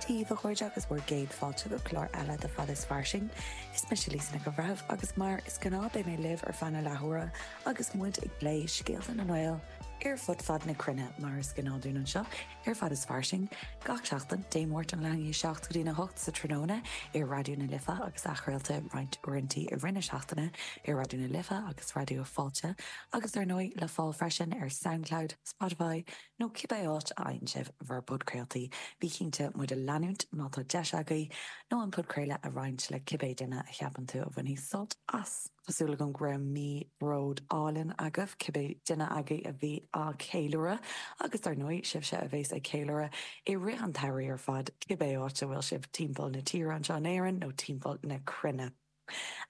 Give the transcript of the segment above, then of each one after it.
Dia daoibh a chairde agus bhur gcéad fáilte go clár eile de Fad is Fairsing. Is mise Lisa Nic an Bhreithimh agus mar is gnáth beidh mé libh ar feadh na leathuaire agus muid ag plé scéalta na nGael ar fud fad na cruinne mar is gnáth dúinn anseo ar Fad is Fairsing gach seachtain, Dé Máirt ón leath i ndiaidh 7 go dtína 8 sa tráthnóna ar Raidió na Life agus athchraolta roinnt uaireantaí i rith na seachtaine ar Raidió na Life agus Raidió Fáilte agus dar ndóigh le fáil freisin ar Soundcloud, Spotify nó cibé áit a fhaigheann sibh bhur bpodchraoltaí. Bí cinnte muid a leanúint má tá deis agaibh, nó an podchraoladh a roinnt le cibé duine a cheapann tú a bhainfidh sult as. Tá súil agam go raibh mí bróid álainn agaibh, cibé duine agaibh a bhí á ceiliúradh, agus dar ndóigh, sibhse a bheas ag ceiliúradh i rith an tsamhraidh ar fad, cibé áit a bhfuil sibh timpeall na tíre anseo in Éirinn nó timpeall na cruinne.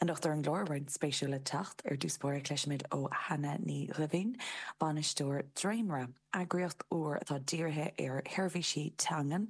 Anocht ar an gclár, roinnt spéisiúil le teacht. Ar dtús báire cloisfimid ó Hannah Ní Dhoimhín, bainisteoir Dréimire, eagraíocht úr atá dírithe ar sheirbhísí teangan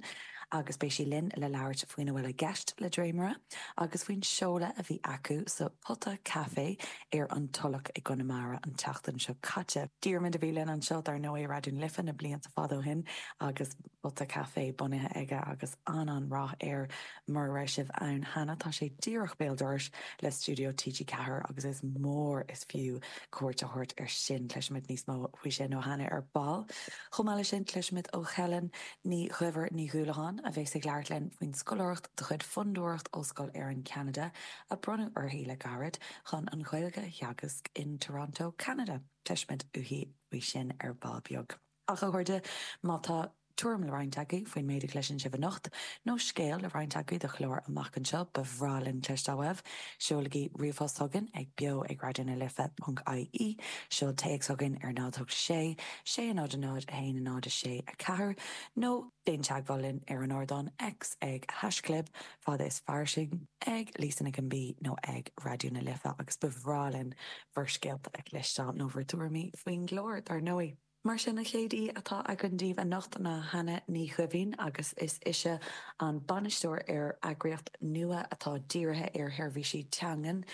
agus beidh sí linn le labhairt faoina bhfuil i gceist le Dréimire agus faoin seoladh a bhí acu sa Pota Café ar an Tulach i gConamara an tseachtain seo caite. Diarmuid a bhí linn anseo dar ndóigh i Raidió na Life na blianta fada ó shin agus Pota Café bunaithe aige agus an-an-rath air. Mura raibh sibh ann cheana, tá sé díreach béal dorais le stiúideo TG4 agus is mór is fiú cuairt a thabhairt air sin. Cloisfimid níos mó faoi sin ó Hannah ar ball. Chomh maith leis sin, cloisfimid ó Helen Ní Dhuibhir Ní Dhúlacháin, a bheas ag labhairt linn faoin scoláireacht de chuid Fondúireacht Ollscoil Éireann Ceanada a bronnadh uirthi le gairid chun an Ghaeilge a theagasc in Toronto, Ceanada. Cloisfimid uaithi faoi sin ar ball beag. Ach a chairde, má tá tuairim le roinnt agaibh faoin méid a chloiseann sibh anocht, nó scéal le roinnt agaibh do chlár amach anseo, ba bhreá linn cloisteáil uaibh. Seolaigí ríomhphost chugainn ag beo ag raidió na life ponc ie, seol téacs chugainn ar 0 8 6 6 0 0 1 0 6 4, nó déan teagmháil linn ar an ardán X ag haischlib fad is fairsing, ag Lisa Nic an B nó ag Raidió na Life agus ba bhreá linn bhur scéalta a chloisteáil nó bhur dtuairimí faoin gclár, dar ndóigh. Mar sin, an chéad aoi atá againn daoibh anocht ná Hannah Ní Dhoimhín agus is ise an bainisteoir ar eagraíocht nua atá dírithe ar sheirbhísí teangan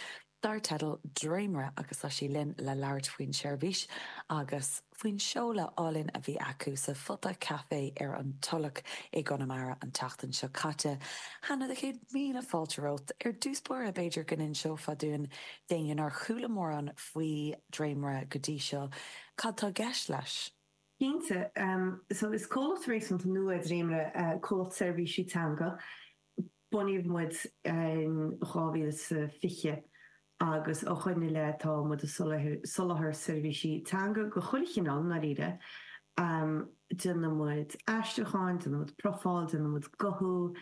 dar teideal Dréimire agus tá sí linn le labhairt faoin tseirbhís agus faoin seoladh álainn a bhí acu sa Phota Café ar an Tulach i gConamara an tseachtain seo caite. Hannah, do chéad míle fáilte romhat. Ar dtús báire, b'fhéidir go n-inseofá dúinn, d'éinne nár chuala mórán faoi Dréimire go dtí seo, Cad tá i gceist leis? Cinnte. So is comhlacht réasúnta nua é Dréimire, comhlacht seirbhísí teanga. Bunaíodh muid in 2020 agus ó shoin i leith tá muid ag soláthar seirbhísí teanga de chuile chineál, i ndáiríre. Déanann muid aistriúcháin, déanann muid profáil, déanann muid guthú.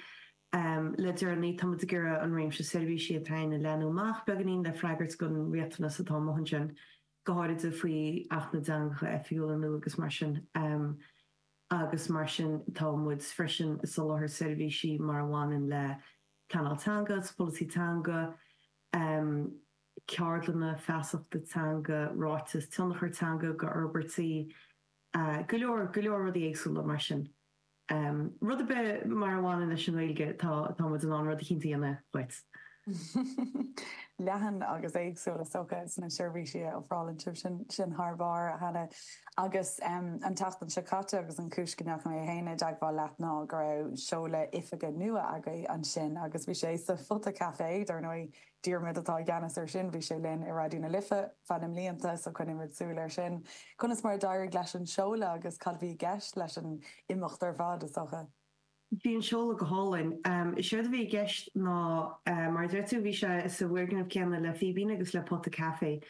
Le deireanaí tá muid ag iarraidh an réimse seirbhísí atá againn a leathnú amach beagáinín le freagairt don riachtanas atá amuigh ansin. go háirithe faoi Acht na dTeangacha Oifigiúla nua agus mar sin. Agus mar sin tá muid freisin ag soláthar seirbhísí mar a bhaineann le pleanáil teanga agus polasaí teanga, ceardlanna feasachta teanga, ráiteas tionchair teanga d'fhorbairtí, go leor, go leor rudaí éagsúla mar sin. Rud ar bith mar a bhaineann leis an nGaeilge, tá tá muid in ann rud eicínt a dhéanamh dhuit. Leathan agus éagsúil is dócha sna seirbhísí a ofrálann sibh, sin sin thar barr, a Hannah. Agus an tseachtain seo caite agus an chúis go ndeachaigh mé féin i dteagmháil leat ná go raibh seoladh oifige nua agaibh ansin agus bhí sé sa Phota Café, dar ndóigh, Diarmuid atá i gceannas air sin, bhí sé linn i Raidió na Life feadh na mblianta so coinneoimid súil air sin. Conas mar a d'éirigh leis an seoladh agus cad a bhí i gceist leis an imeacht ar fad, is dócha? Bhí an seoladh go hálainn. Is éard a bhí i gceist ná, mar a deir tú, bhí sé sa bhfoirgneamh céanna le Fíbín agus le Pota Café.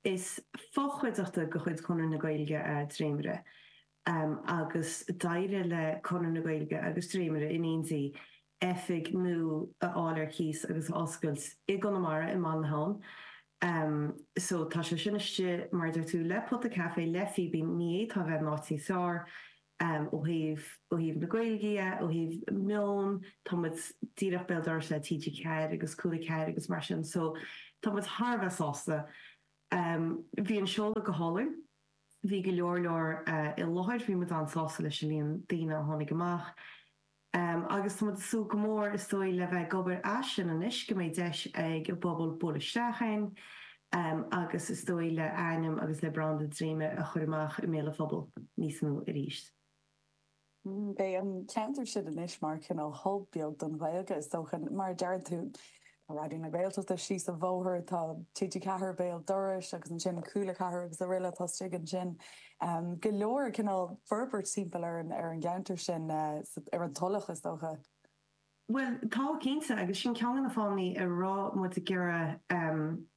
Is fochuideachta de chuid Chonradh na Gaeilge é Dréimire agus d'éirigh le Conradh na Gaeilge agus Dréimire in éindí oifig nua a fháil ar cíos agus a oscailt i gConamara, i mBaile na hAbhann. So tá sé sin istigh, mar a deir tú, le Pota Café, le Fíbín, ní fhéadfá a bheith in áit níos fearr ó thaobh, ó thaobh na Gaeilge dhe, ó thaobh meon, tá muid díreach béal dorais le TG4 agus Cúla 4 agus mar sin, so tá muid thar a bheith sásta. Bhí an seoladh go hálainn, bhí go leor leor i láthair, bhí muid an-sásta leis an líon daoine a tháinig amach. Agus tá muid ag súil go mór, is dóigh, le bheith ag obair as sin anois, go mbeidh deis ag an bpobal bualadh isteach ann agus is dóigh le ainm agus le branda Dréimire a chur amach i mbéal an phobail níos mó arís. Beidh an ceantar sin anois mar chineál hub beag don Ghaeilge is dócha. Mar a deireann tú, tá Raidió na Gaeltachta síos an bhóthar, tá TG4 béal dorais agus ansin Cúla 4 agus araile atá istigh ansin. Go leor cineál forbairt timpeall ar an gceantar sin, ar an Tulach is dócha. Bhuel, tá, cinnte, agus sin ceann de na fáthanna a raibh muid ag iarraidh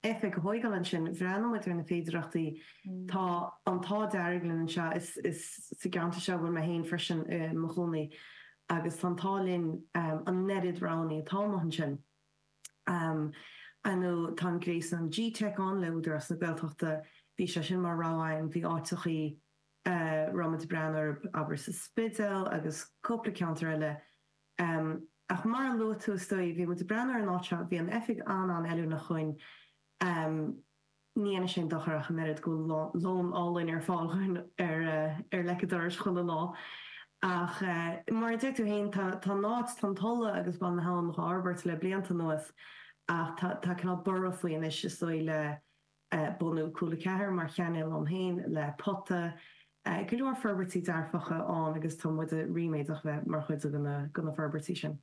oifig a thóigeáil ansin. Bhreathnaigh muid ar na féidireachtaí. Tá an t-ádh dearg linn anseo, is sa gceantar seo a bhfuil mé féin freisin i mo chónaí, agus tá an t-ádh linn an oiread roghanna atá amuigh ansin. Ar ndóigh, tá an gréasán GTeic ann le Údarás na Gaeltachta, bhí sé sin mar rogha againn, bhí áiteachaí a raibh muid ag breathnú orthu, abair sa Spidéal agus cúpla ceantar eile, Ach mar a luaigh tú, is dóigh, bhí muid ag breathnú ar an áit seo, bhí an oifig an-an-fheiliúnach dhúinn. Ní dhéanfaidh sé aon dochar ach an oiread go bhfuil lón álainn ar fáil dhúinn ar ar leic an dorais chuile lá. Ach mar a deir tú féin, tá tá an áit, tá an Tulaigh agus Baile na hAbhann dhá fhorbairt le blianta anuas ach tá tá cineál borradh faoi anois is dóigh le bunú Cúla 4 mar chainéal ann féin le Pota, go leor forbairtí dearfacha ann agus tá muid ríméadach bheith mar chuid de na forbairtí sin.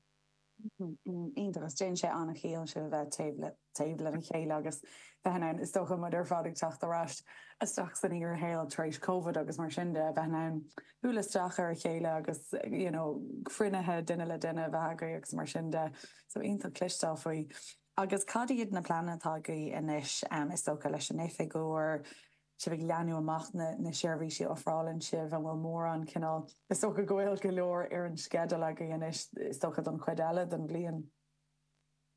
Iontach, agus déanann sé an-chiall sibh a bheith taobh le taobh lena chéile agus bheith in ann, is dócha, muid ar fad ag teacht ar ais isteach san fhíorshaol tar éis Covid agus mar sin de, a bheith in ann bualadh isteach ar a chéile agus you know cruinnithe duine le duine a bheith agaibh agus mar sin de. So iontach cloisteáil faoi. Agus cad iad na pleananna atá agaibh anois, is dócha, leis an oifig úr, sibh ag leathnú amach na na seirbhísí a ofrálann sibh, an bhfuil mórán cineál, is dócha go bhfuil go leor ar an sceideal agaibh anois, is dócha, don chuid eile den bhliain?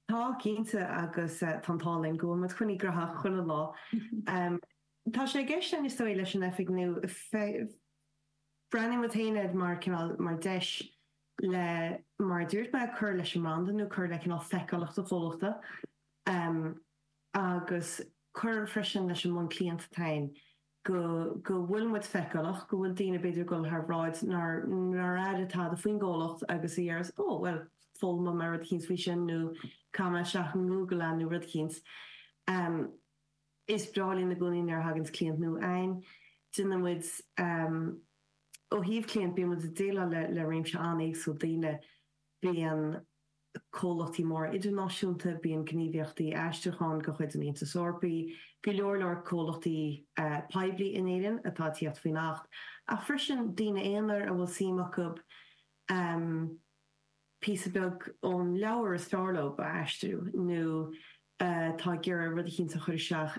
Tá, cinnte, agus tá an t-ádh linn go bhfuil muid coinnithe graitheach chuile lá. Tá sé i gceist againn, is dóigh, leis an oifig nua, breathnaíonn muid féin air mar cineál, mar deis le, mar a dúirt mé, cur leis an mbranda nó cur le cineál feiceálacht an chomhlachta agus cur freisin leis an mbonn cliant atá againn, go, go bhfuil muid feiceálach, go bhfuil daoine b'fhéidir ag dul thar bhráid nár, nár airigh tada faoin gcomhlacht agus a deireas 'Ó, bhuel, foghlaimeoidh mé rud eicínt faoi sin' nó 'Caithfidh mé isteach i nGoogle é' nó rud eicínt. Is breá linn i gcónaí nuair a thaganns cliant nua againn. Déanann muid, ó thaobh cliant, bíonn muid ag déileáil le le réimse an-éagsúil daoine. Bíonn comhlachtaí móra idirnáisiúnta, bíonn gníomhaíochtaí aistriúcháin de chuid an Aontais Eorpaigh, go leor leor comhlachtaí poiblí in Éirinn atá ag tíocht faoin Acht, ach freisin daoine aonair a bhfuil suim acu píosa beag ón leabhar is fearr leo a aistriú nó atá ag iarraidh rud eicínt a chur isteach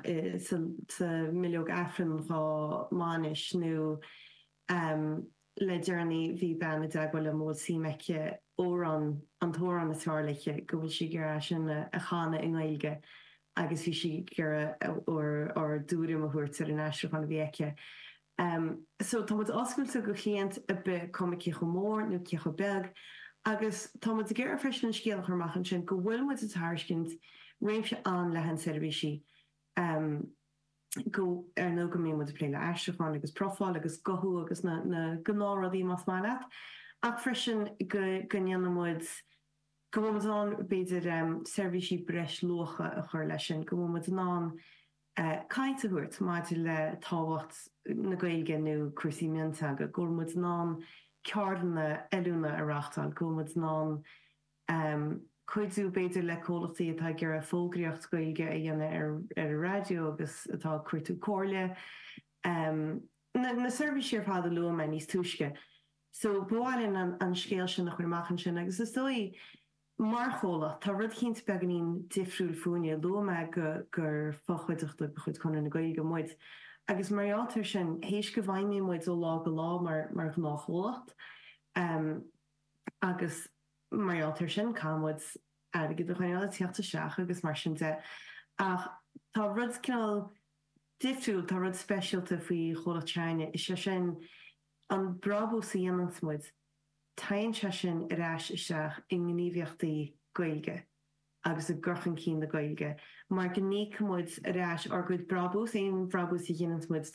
sa mbileog Aifrinn dhá mbainis nó le deireanaí bhí bean i dteagmháil liom a bhfuil suim aici amhrán, an t-amhrán is fearr léi, go bhfuil sí ag iarraidh é sin a chanadh i nGaeilge agus bhí sí ag iarraidh ár dtuairim a thabhairt ar an aistriúchán a bhí aici. So tá muid oscailte go chliaint ar bith, cuma cé chomh mór nó cé chomh beag, agus tá muid ag iarraidh freisin an scéal a chur amach ansin go bhfuil muid ag tairiscint réimse an-leathan seirbhísí, go, ar ndóigh go mbíonn muid ag plé le aistriúchán agus profáil agus guthú agus na, na gnáthrudaí más maith leat, ach freisin go, go ndéanann muid, go bhfuil muid in ann b'fhéidir seirbhísí breis luacha a chur leis sin, go bhfuil muid in ann caint a thabhairt maidir le tábhacht na Gaeilge nó cúrsaí mionteanga, go bhfuil muid in ann ceardlanna oiliúna a reáchtáil, go bhfuil muid in ann cuidiú b'fhéidir le comhlachtaí atá ag iarraidh fógraíocht Ghaeilge a dhéanamh ar ar an raidió agus atá ag cuartú comhairle. Na seirbhísí ar fad a luaigh mé níos túisce. So ba mhaith linn an scéal sin a chur amach ansin agus is dóigh Mar chomhlacht, tá rud eicínt beagáinín difriúil fúinne. Luaigh mé go gur fochuideachta de chuid Chonradh na Gaeilge muid, agus mar gheall air sin, théis go bhfeidhmíonn muid ó lá go lá mar mar ghnáthchomhlacht, agus mar gheall air sin, caithfidh muid airgead a choinneáil ag tíocht isteach agus mar sin de. Ach tá rud cineál difriúil, tá rud speisialta faoi chomhlacht s'againne, is é sin an brabús a dhéananns muid, Téann sé sin ar ais isteach i ngníomhaíochtaí Gaeilge agus i gcur chun cinn na Gaeilge mar go n-íocann muid ar ais ár gcuid brabús, aon bhrabús a ghineanns muid.